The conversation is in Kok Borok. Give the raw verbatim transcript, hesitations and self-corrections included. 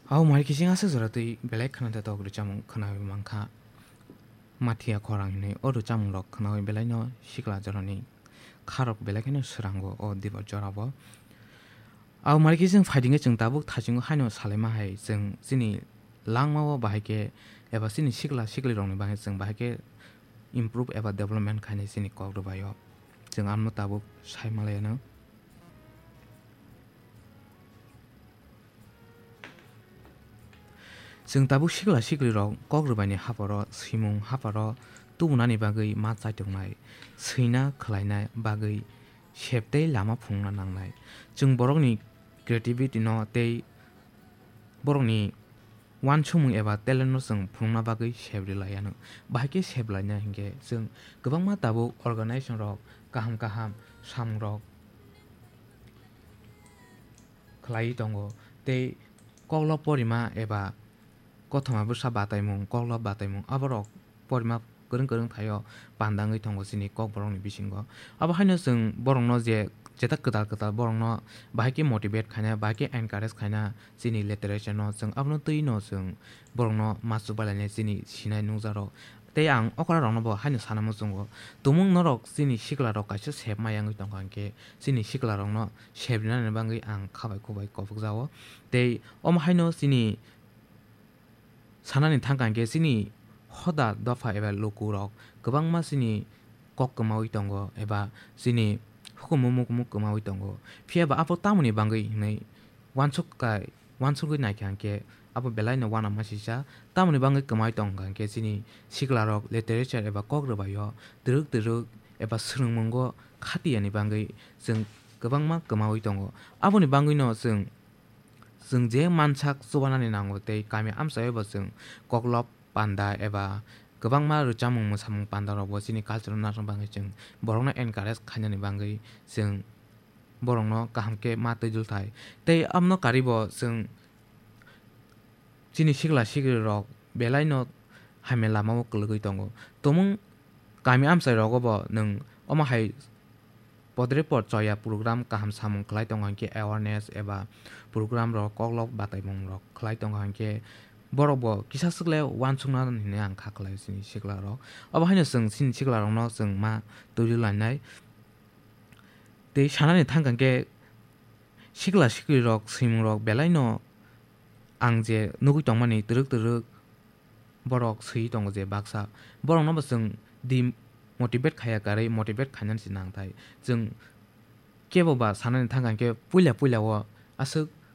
Abo mari kising aswk jora twi belai khwna da tok rwchapmung khwnawi mankha. Mathiya khorang hinwi o rwchapmungrok khwnawi belaino sikla jorani kharok belai kheno swrango o dibo jorabo. Abo mari kising phaidingwi chwng tabuk thachingo haino salaima hai chwng chini langmao bahai khe eba chini sikla siklirokni bagwi chwng bahai khe improve eba development khainai chini kok rwbaio. Chwng ano tabuk sai malaiyano. Chwng tabuk sikla siklirok kok rwbaini haparo swimung haparo tubunani bagwi ma chaitongnai, swina khwlaina bagwi sep tei lama phunukna nangnai. Chwng borokni creativity no tei borokni uansukmung eba talent no chwng phunukna bagwi sep rwlaiano. Bahai khe sep laina hinkhe chwng kwbangma tabuk organization rok kaham kaham samungrok khwlaiwi tongo tei koklo porima eba kothoma bwsa bataimung, koklo bataimung aborok porima kwrwng kwrwng thaio panda wngwi tongo chini kokborokni bisingo. Abo haino chwng borokno je jeta kwtal kwtal borokno bahai khe motivate khaina, bahai khe encourage khaina chini literature no chwng abono twi no chwng borokno ma chubailani chini sinai nukjakrok. Tei ang okra rokno bo haino sana muchungo, tumung norok chini sikla rok kaisa sep maya wngwi tongkha hinkhe chini sikla rokno sep rinani bagwi ang khabai khubai kobokjao. Tei omo haino chini sanani thangkha hinkhe chini hoda dopha eba lukurok kwbangma chini kok kwmawi tongo eba chini hukumu mukumu kwmawi tongo. Phiya ba abo tamoni bagwi hinwi uansuk kai, uansugwi naikha hinkhe abo belaino uanama sisa. Tamoni bagwi kwmawi tongkha hinkhe chini siklarok literature eba kok rwbaio twrwk twrwk eba swrwngmungo khatiyani bagwi chwng kwbangma kwmawi tongo. Aboni bagwino chwng, chwng je mansak chubanani nango tei kami amchaio bo chwng koklop panda eba kwbangma rwchapmung mwsamung pandarokbo chini culture-o narwkna bagwi chwng borokno encourage khainani bagwi chwng borokno kaham khe ma twijlthai. Tei abono karibo chwng chini sikla sikrirok belaino hamya lamao kwlwgwi tongo. Tumung kami amchairogo bo nwng omo hai podre pod choya program kaham samung khlai tongo hinkhe awareness eba program rok koklop bataimung rok khlai tongo hinkhe borok bo kisa swk le uansukna hinwi ang kha khlai chini sikla rok. Obo haino chwng chini sikla rokno chwng ma twiwi lainai. Tei sanani thangkha hinkhe sikla sikri rok swimung rok belaino ang je nugwi tongmani twrwk twrwk borok swiwi tongo je baksa borokno bo chwng demotivate khaiya karwi motivate khainani se nangthai. Chwng kebo ba sanani thangkha hinkhe puila puila o aswk